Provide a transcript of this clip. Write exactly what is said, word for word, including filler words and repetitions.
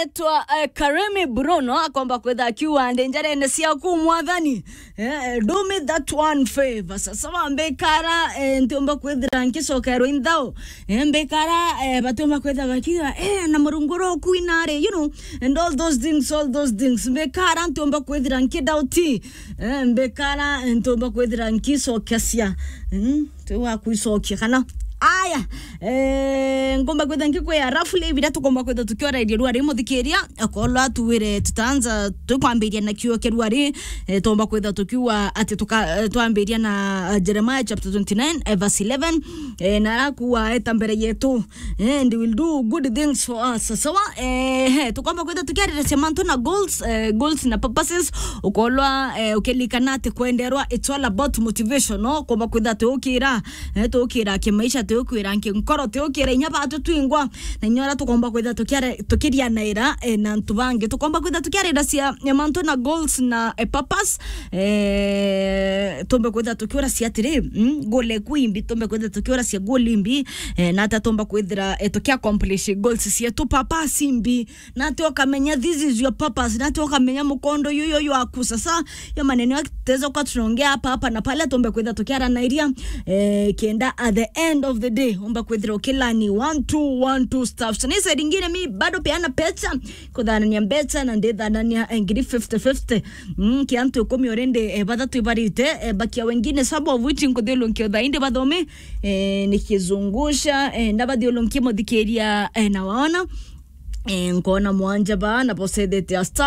Etwa, eh, Karemi Bruno akomba kwitha akiuga, "Ndi njarene ciaku, Mwathani. Eh, do me that one favor." Sasa wa mbikara, eh, ntiumba kwithira nkicokerwa inthao. Eh, mbikara, eh, batiumba kwitha bakiuga, "Eh, na Murungu ro kuinari," you know, and all those things, all those things. Mbikara ntiumba kwithira nkidauti. Eh, mbikara ntiumba kwithira nkicokecia. Mm. Tiu wa kwicokia kana. Aya, eh, ngomba kwitha nkikwia roughly biria tukomba kwitha tukiorairia ruari muthikiria, akorwa tuwire tutanza tukwambiria na kiugo kia ruari, eh, tuomba kwitha tukiuga ati tuka-, eh, twambiria na, eh, Jeremiah chapter twenty-nine, eh, verse eleven, eh, na arakuwa eta mbere yetu, eh, and will do good things for us. Sawa, eh, he, tukomba kwitha tukiariria cia mantu na goals, eh, goals na purposes, ukorwa, eh, ukilikana ati kwenderwa, it's all about motivation, no? Komba kwitha tukira Eh, tukira kimaisha, tukira nkinkoro, tukira inya batu twingwa, na inya uria tukomba kwitha tukiare-, tukirianaira, eh, na antu bangi. Tukomba kwitha tukiarira cia, eh, mantu na goals na, eh, purpose. Eh, tumbe kwitha tukiura cia atiri, mm, goal eku imbi, tumbe kwitha tukiura cia goal imbi, eh, na ata tumba kwithira, eh, tuki accomplish goals cietu, purpose imbi. Nati ukamenya this is your purpose, nati ukamenya mukondo yuyu waku. Sasa, yo maneno ya tutaweza kuwa tunaongea hapa, hapa na pale, tumbe kwitha tukiaranairia, eh, kenda at the end of the day, umbe kwithira ukilani one, two, one, two stuff. So, ni side ingine mi bado peana pesa, kuthanania mbeca na ndithanania, eh, ngiri fifty fifty. Mm, ki antu ikumi already, eh, bathatu ibarite, eh, bakia wengine, some of which nkuthiulunkia uthaindi bathomi, eh, nikizungusha, eh, ndabathiulunkia muthikiria, eh, na waona. Eh, nkona mwanja ba, na bosethete a star